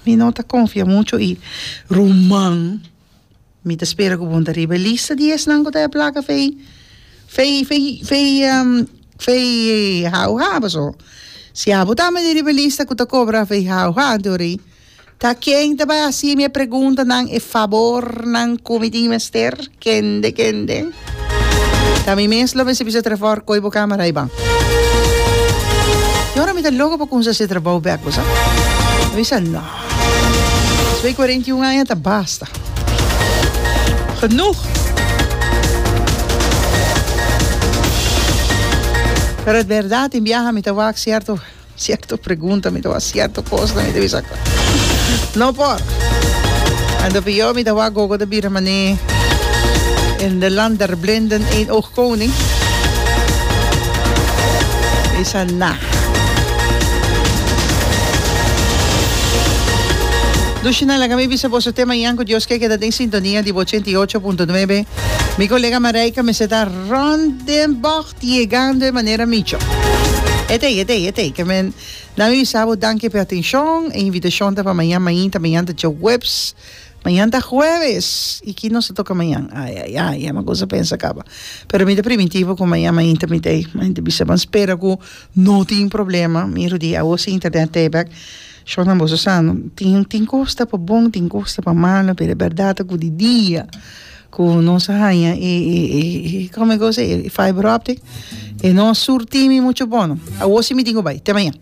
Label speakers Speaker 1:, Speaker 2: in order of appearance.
Speaker 1: Mi no ta konfia mucho i ruman mi ta spera ku bo ta riba e lista di esnan ku ta e plaka fei fei fei fei fei hauha paso si abo tambe ta riba e lista ku ta kobra fei hauha anto ori Ta ken ta bai hasi mi e preguntanan, e fabornan ku mi tin mester? Kende, kende? Ta mi mes lo mester bisa Trevor, koi bo kamera ei ban. I ora mi ta loko pa kumsa hasi e trabou bek, bo sa. Mi bisa, no. Despues di 41 aña ta basta. Genoeg. Pero berdat, tin biaha mi ta wak sierto. Cierto pregunta mi ta wak cierto cosnan mi ta bisa no por. Anto pior mi ta wak gogo ta bira mane in de land der blinden een oog koning. Bisa na. Dushina laga mi bisa boso te mañan ku Dios ke keda den sintonia di bo 88.9. Mi kolega Marijke mester ta rond den bocht. Yegando e manera micho. E t'ei, e t'ei, e t'ei. Ke men nan mi bisa bo danki p'e atenshon. E invitashon ta pa mañan mainta, mañan ta djaweps, mañan ta hueves. I ki nos ta toka mañan? Ai, ai, ai, ya mi a kusa pensa kaba. Pero mi ta primintí bo ku mañan mainta mi t'ei. Mi ta bisa ban spera ku no tin problema. Mi rudi awo si internet t'ei bèk. Shornan boso sa no, tin tin kos ta pa bon, tin kos ta pa malo, pero e bèrdat ta ku di dia. Ku nos a haña e e e komo e cosa e fiber optic e no a surti mi mucho bono. Awor si mi tin ku bai. Te mañan.